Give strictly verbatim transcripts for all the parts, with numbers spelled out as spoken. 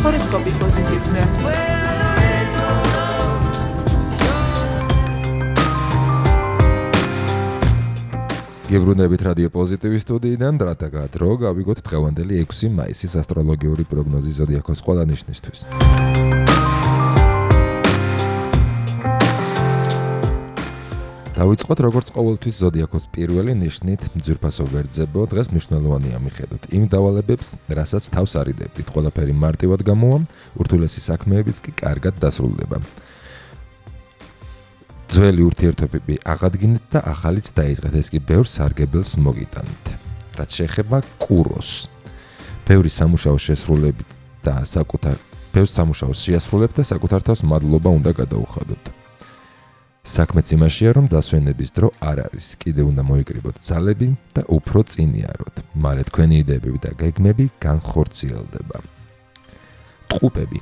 ჰოროსკოპი პოზიტივზე. გებრუნებით რადიო პოზიტივის სტუდიიდან, დრატაგა დრო გავიგოთ დღევანდელი ექვსი მაისის ასტროლოგიური პროგნოზი ზოდიაქოს ყველა ნიშნისთვის. დავიწყოთ როგორც ყოველთვის ზოდიაქოს პირველი ნიშნით ძვირფასო ვერძებო, დღეს მნიშვნელოვანია მიხედოთ იმ დავალებებს, რასაც თავს არიდებდით, ყველაფერი მარტივად გამოვა, ურთულესი საქმეებიც კი კარგად დასრულდება. ძველი ურთიერთობები აღადგინეთ და ახალიც დაიწყეთ, ეს კი ბევრ სარგებელს მოგიტანთ. რაც შეეხება კუროს, ბევრი სამუშაო შესრულებით და საკუთარ ბევრ სამუშაოს შეასრულებთ და საკუთარ თავს მადლობა უნდა გადაუხადოთ. საქმეც იმაშია, რომ დასვენების დრო არ არის, კიდე უნდა მოიკრიბოთ ძალები და უფრო წინიაროთ. მალე თქვენი იდეები და გეგმები განხორციელდება. ტყუპები,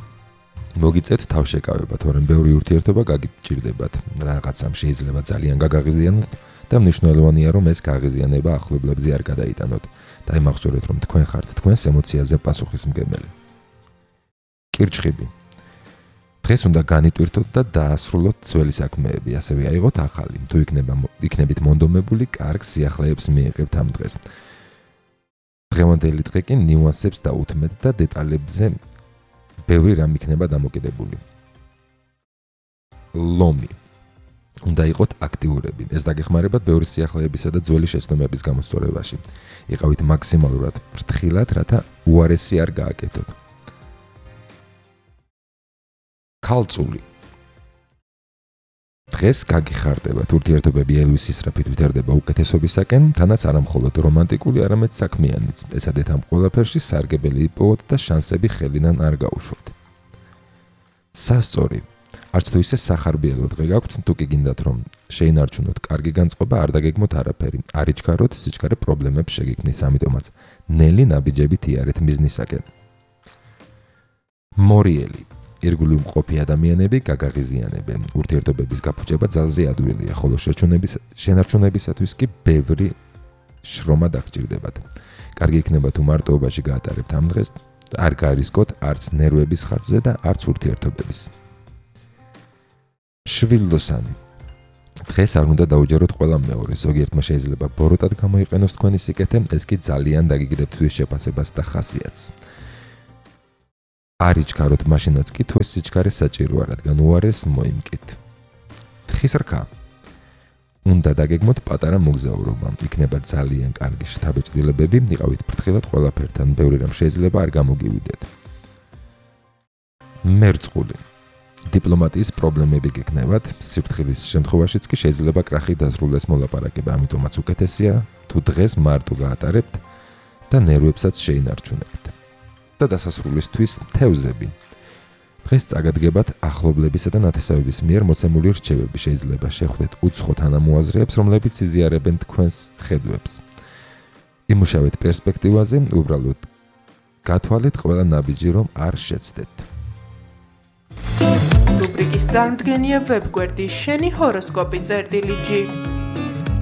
მოგიწევთ თავშეკავება, თორემ ბევრი ურთიერთობა გაგიჭირდებათ. რაღაცამ შეიძლება ძალიან გაგაღიზიანოთ და მნიშვნელოვანია, რომ ეს გაღიზიანება ახლობლებზე არ გადაიტანოთ. დაიმახსოვრეთ, რომ თქვენ ხართ თქვენს ემოციაზე პასუხისმგებელი. კირჩხიბი, დღეს უნდა განიტვირთოთ და დაასრულოთ ძველი საქმეები, ასევე აიღოთ ახალი. თუ იქნება იქნებით მონდომებული, კარგ სიახლეებს მიიღებთ ამ დღეს. დღევანდელი დღე კი ნიუანსებს დაუთმეთ და დეტალებზე ბევრი რამ იქნება დამოკიდებული. ლომი, უნდა იყოთ აქტიურები. ეს დაგეხმარებათ ბევრი სიახლეებისა და ძველი შეცდომების გამოსწორებაში. იყავით მაქსიმალურად ფრთხილად, რათა უარესი არ გააკეთოთ. ქალწული, დღეს გაგიხარდებათ, ურთიერთობები ელვის ისრაფით ვითარდება უკეთესობისაკენ, თანაც არა მხოლოდ რომანტიკული, არამედ საქმიანიც. ეცადეთ ამ ყველაფერში სარგებელი იპოვოთ და შანსები ხელიდან არ გაუშვოთ. სასწორი, არც თუ ისე სახარბიელო დღე გაქვთ, თუ კი გინდათ რომ შეინარჩუნოთ კარგი განწყობა, არ დაგეგმოთ არაფერი. არ იჩქაროთ, სიჩქარე პრობლემებს შეგიქმნის, ამიტომაც ნელი ნაბიჯებით იარეთ მიზნისაკენ. მორიელი, ირგვლივ მყოფი ადამიანები გაგაღიზიანებენ. ურთიერთობების გაფუჭება ძალზე ადვილია, ხოლო შენარჩუნებისათვის კი ბევრი შრომა დაგჭირდებათ. კარგი იქნება თუ მარტოობაში გაატარებთ ამ დღეს, არ გარისკოთ არც ნერვების ხარჯზე და არც ურთიერთობების. შვილდოსანი, დღეს არ უნდა დაუჯეროთ ყველა მეორე, ზოგიერთმა შეიძლება ბოროტად გამოიყენოს თქვენი სიკეთე, ეს კი ძალიან დაგიგდებთ თვითშეფასებას და ხასიათს. არ იჩქაროთ მაშინაც კი თუ ეს სიჩქარე საჭიროა, რადგან უარეს მოიმკით. თხის რქა, უნდა დაგეგმოთ პატარა მოგზაურობა, იქნება ძალიან კარგი შთაბეჭდილებები, იყავით ფრთხილად ყველაფერთან, ბევრი რამ შეიძლება არ გამოგივიდეთ. მერწყული, დიპლომატიის პრობლემები გექნებათ, სიფრთხილის შემთხვევაშიც კი შეიძლება კრახი დასრულდეს მოლაპარაკება, ამიტომაც უკეთესია თუ დღეს მარტო გაატარებთ და ნერვებსაც შეინარჩუნებთ. და დასასრულისთვის თევზები. დღეს წაგადგებათ ახლობლებისა და ნათესავების მიერ მოცემული რჩევები, შეიძლება შეხვდეთ უცხო თანამოაზრეებს, რომლებიც იზიარებენ თქვენს ხედვებს. იმუშავეთ პერსპექტივაზე, უბრალოდ გათვალეთ ყველა ნაბიჯი, რომ არ შეცდეთ. რუბრიკის წარმდგენია ვებგვერდი შენი ჰოროსკოპი წერტილი ჯი.